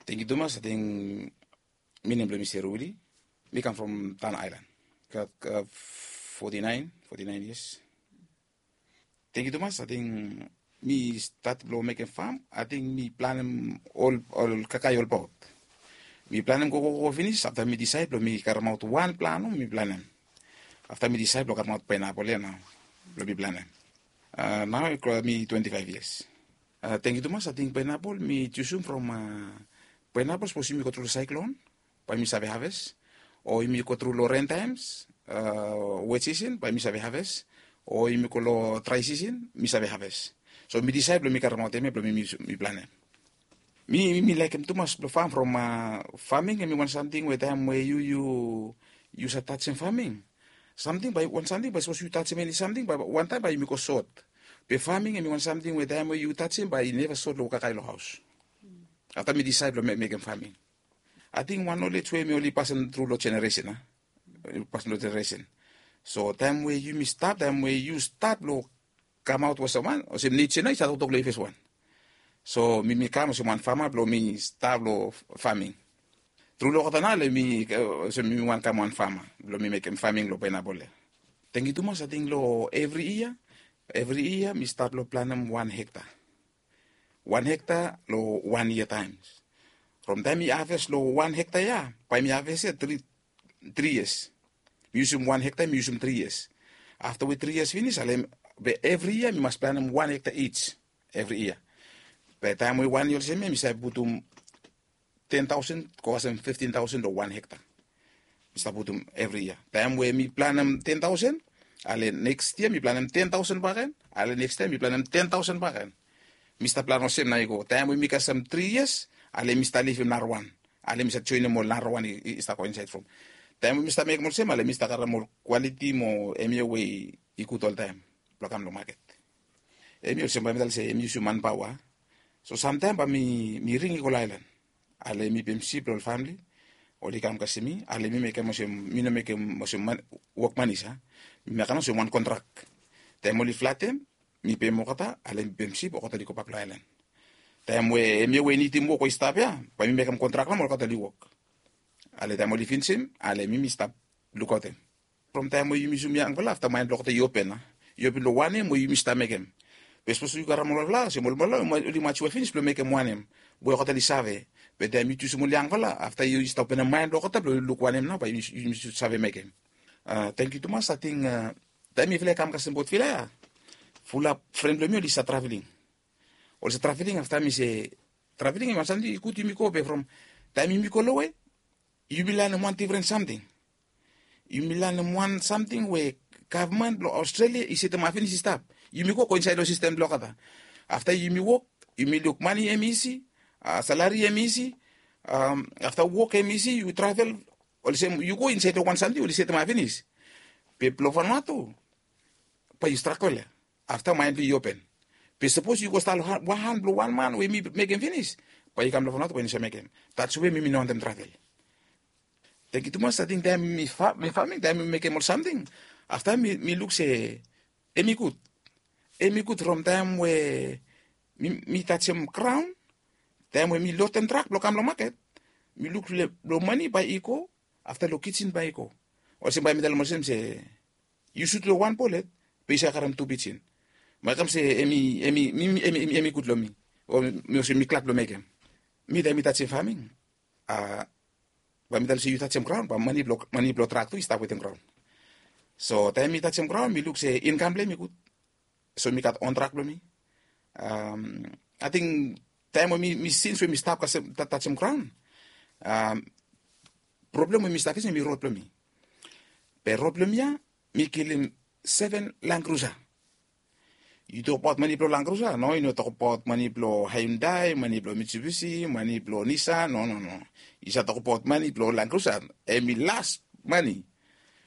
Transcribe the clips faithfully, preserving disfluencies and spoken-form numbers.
Tengiu tumas, ating mi nem blong mi Seruli. Mi kam from Tan Ailan. Gat forty nine, forty nine years. Tengiu tumas, ating mi stat blong mekem fam, ating mi planem ol ol kakai olbaot. Mi planem gogogo finis, afta mi disaed blong mi karemaot wan plan mi planem. Afta mi disaed blong karemaot painapol ya nao blong mi planem. Nao mi twenti faev yias. Tengiu tumas, ating painapol mi jusum from painapol sapos yumi go tru long saeklon, bae mi save haves. O yumi go tru long ren taems, wet sisen bae mi save haves. O yumi go long drae sisen mi save haves. So mi disaed blong mi karemaot em ya blong mi mi planem. Mi mi laekem tumas blong fam from faming em i wan samting we taem we yu yu yu save tajem faming samting bae wan samting bae sapos yu tajem eni samting bae wantaem bae yumi go sot. Be faming em i wan samting we taem we yu tajem bae i neva sot long kakae long haos. Afta mi disaed blong mekem faming. Ating wan nolej we mi oli pasim tru long jeneresen a pasim long jeneresen. So taem we yumi stap taem we yu stap long kamaot olsem wan olsem neja nao i save toktok long i fes wan. So mi mi kam olsem wan fama blong mi stap long faming. Tru long olgeta nao le mi olsem mi wan kam wan fama blong mi mekem faming long painapol ya. Tengiu tumas, ating long evri yia evri yia mi stap long planem wan hekta. Wan hekta long wan yia taems. From taem mi haves long wan hekta ya bae mi haves ya tri tri yias. Mi yusum wan hekta mi yusum tri yias. Afta we tri yias finis ale be evri yia mi mas planem wan hekta ij. Evri yia. Be taem we wan yia olsem ya mi save putum ten taosen go kasem fiftin taosen long wan hekta. Mi stap putum evri yia taem we mi planem ten taosen, ale neks yia mi planem ten taosen baken, ale neks taem mi planem ten taosen baken. Mi stap plan olsem nao i go taem we mi kasem tri yias, ale mi stap lifim narawan. Ale mi stap joenem ol narawan i stap go insaed from taem we mi stap mekem olsem ale mi stap karem ol kwaliti mo emia we i gud oltaem blong kam long maket. Emia olsem bae mi talem se em i yusum manpaoa. So samtaem bae mi ring i go long aelan. Ale mi pem sip long ol famli oli kam kasem mi ale mi mekem olsem mi no mekem olsem wok manis a. Mi mekem olsem wan kontrak. Taem oli flatem mi pem olgeta ale mi pem sip olgeta oli gobak long aelan. Taem we em ya we i nidim wok we i stap ya bae mi mekem kontrak long olgeta oli wok. Ale taem oli finisim ale mi mi stap lukaotem. From taem we yumi yusum yangfala afta maen blong olgeta i open a i open long wanem we yumi stap mekem. Be sapos yu karem olfala olsem olfala oli majua finis blong mekem wanem we olgeta oli save. Be taem yu jusum ol yangfala afta yu stap openem maen blong olgeta blong luk wanem nao bae yumi sud save mekem. Tengiu tumas, ating taem mifala i kam kasem bot fila ya fulap fren blong mi oli save traveling. Oli save traveling afta mi se traveling em i wan samting i gud yumi go be from taem yumi go lowe yumi lanem wan difren samting. Yumi lanem wan samting we gavman blong aostralia i setem afinis i stap. Yumi go go insaed long sistem blong olgeta. Afta yumi wok yumi luk mani em isi, salari em isi, afta wok em isi yu travel, olsem yu go insaed long wan samting oli setem afinis. Be blong fanua tu bae yu strakol ya. Afta maen blong yu i open. Be sapos yu go stap long wan han blong wan man we mi mekem finis, bae yu kam long fanua tu bae yu no save mekem. Dats we mi mi no wantem travel. Tengiu tumas, ating taem mi faming taem mi mekem ol samting afta mi luk se em i gud. Em i gud from taem we mi tajem graon, taem we mi lodem trak blong kam long maket, mi luk long mani bae i go, afta long kijen bae i go. Olsem bae mi talem olsem se yu sut long wan bolet be yu save karem tu pijen. Bae kam se em i em i em i em i em i gud long mi. O mi olsem mi glad blong mekem. Mi taem mi tajem faming, a bae mi talem se yu tajem graon bae mani blong mani blong trak tu i stap wetem graon. So taem mi tajem graon mi luk se inkam blong em i gud. So mi gat on trak blong mi. Ating taem we mi sins we mi stap kasem tajem graon, problem we mi stap fesim em i rod blong mi. Be rod blong mi ya mi kilim seven langrusa. Yu tokbaot mani blong langrusa no yu no tokbaot mani blong haindai mani blong mitsubisi mani blong nisa no no no. Yu save tokbaot mani blong langrusa. Em i las mani.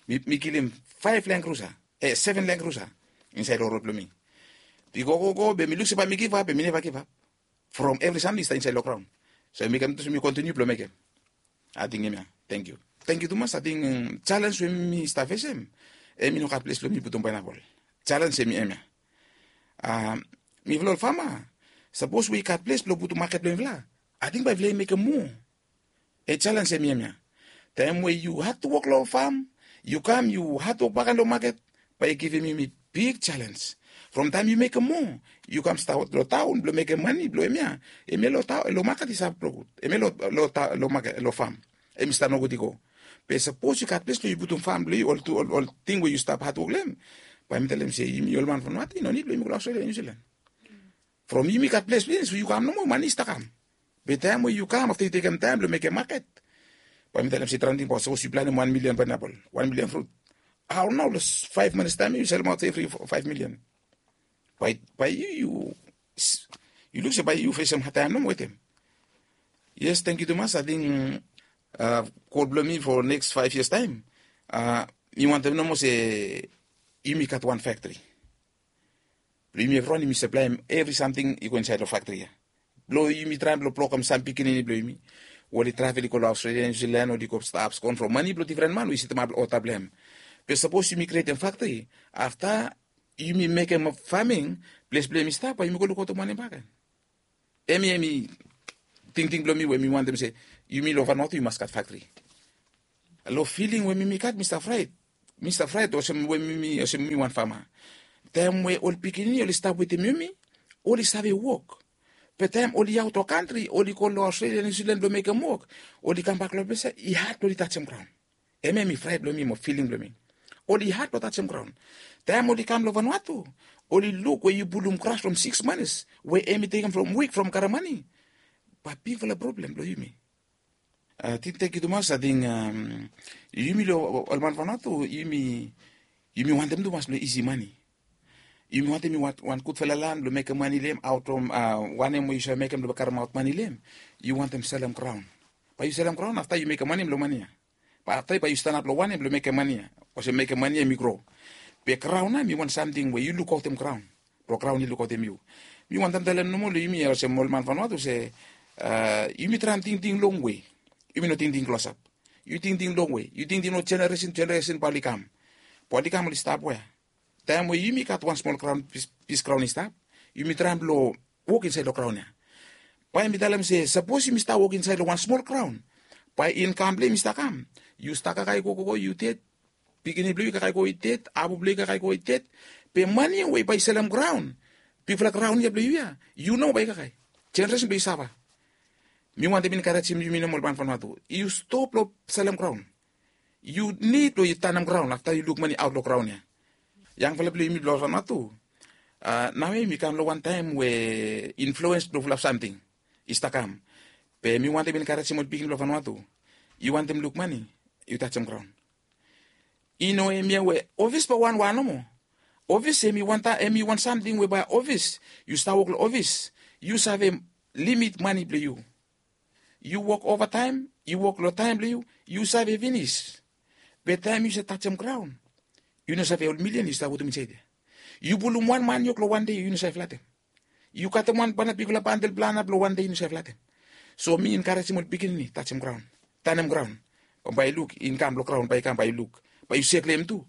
Mi kilim faef langrusa, e seven langrusa insaed long rod blong mi. Bigo gogo be mi luk se bae mi givap be mi neva givap. From evri samting i stap insaed long graon. So em i kam tu so mi kontiniu blong mekem. Ating em ya. Tengiu. Tengiu tumas. Ating jalens we mi stap fesem, em i no gat ples blong mi putum paenapol. Jalens em i em ya. Mifala ol fama, sapos we i gat ples blong putum maket blong mifala, Ating bae i flei mekem moa. E jalens em yemia. Taem we yu hatwok long fam, yu kam yu hatwok bakan long maket, bae i givim yumi big jalens. From taem yu mekem moa, yu kam stap long taon blong mekem mane blong emia. Emia long maket i stap long gud, emia long fam em i stap nogud i go. Be sapos yu gat ples blong yu putum fam blong yu, ol ting we yu stap hatwok long em, bae mi talem se yumi ol man from nati no nid blong yumi go long Australia, New Zealand. From yumi gat ples blong yu kam nomo mane i stap kam. Be taem we yu kam afta yu tekem taem blong mekem maket, bae mi talem se traen ting bae sapos yu planem wan milian paenapel, wan milian frut, hao nao long faef minits taem yu selemaot evri faef milian. Bae yu yu luk se bae yu fesem hadtaem nomo wetem. Yes, tangkiu tumas. Ating gol blong mi fo neks faef yias taem, mi wantem nomo se yumi gat wan faktri. Blong yumi evriwan yumi saplaem evri samting i go insaed long faktri ya. Blong yumi traem blong blokem sam pikinini blong yumi we oli travel i go long Australia, New Zealand, oli go stap skon from mane blong difren man we i setemap olgeta blong hem. Be sapos yumi krietem faktri, afta yumi mekem faming, ples blong hem i stap bae yumi go lukautim wanem bakegen. Hemia hemi tingting blong mi we mi wantem se yumi long Vanuatu yu mas gat faktri. Long filing we mi mi gat mi stap fraet. Mi stap fraet olsem we mi mi olsem mi wan fama. Taem we ol pikinini oli stap wetem yumi, oli save wok. Be taem oli aot long kantri, oli go long Australia, New Zealand blong mekem wok, oli kambak long ples ya i had blong oli tajem graon. Hemia hemi fraet blong mi mo filing blong mi. Oli had blong tajem graon. Taem oli kam long Vanuatu, oli luk we yu pulum gras from sikis manis we hemi tekem from wik from karem mane, bae bigfala problem blong yumi. Ating tangkiu tumas. Ating yumi long ol man Vanuatu yumi wantem tumas blong isi mane. Yumi wantem wan gudfala lan blong mekem mane long hem, aot from wanem we yu save mekem blong karemaot mane long hem, yu wantem selem graon. Bae yu selem graon afta yu mekem mane blong mane ya. Bae afta bae yu stanap long wanem blong mekem mane ya, olsem mekem mane ya hemi gro. Be graon ya hemi wan samting we yu lukaotem graon blong graon i lukaotem yu. Mi wantem talem nomo long yumi ya olsem ol man Vanuatu se yumi traem tingting longwe. Yumi no tingting klosap. Yu tingting longwe, yu tingting long jeneresen jeneresen bae oli kam. Bae oli kam oli stap wea? Taem we yumi gat wan smol graon, pis graon i stap, yumi traem blong wok insaed long graon ya. Bae mi talem se sapos yumi stap wok insaed long wan smol graon, bae inkam blong yumi stap kam. Yu stap kakae gogo yu ded, pikinini blong yu kakae go i ded, abu blong yu kakae go i ded. Be mane we bae yu selem graon, bigfala graon ya blong yu ya, yu nomo bae i kakae. Jeneresen blong yu safa. Mi wantem enkarejem yumi nomo ol man Vanuatu, yu stop long selem graon. Yu nid blong yu tanem graon afta yu luk mane aot long graon ya. Yangfala blong yumi blong Vanuatu, nao ya yumi kam long wan taem we influens blong fulap samting i stap kam. Be mi wantem enkarejem ol pikinini blong Vanuatu, yu wantem luk mane, yu tajem graon. I no hemia we ofis bae wanwan nomo. Ofis hemi wan taem hemi wan samting we bae ofis, yu stap wok long ofis, yu save limit mane blong yu. Yu wok ovataem, yu wok long taem blong yu, yu save finis. Be taem yu save tajem graon, yu no save ol milian yu stap putum insaed ya. Yu pulum wan maniok long wan dei, yu no save flatem. Yu katem wan bigfala bandel blong anap long wan dei, yu no save flatem. So mi enkarejem ol pikinini tajem graon, tanem graon. Bae yu luk inkam blong graon bae i kam, bae yu luk, bae yu sek long hem tu.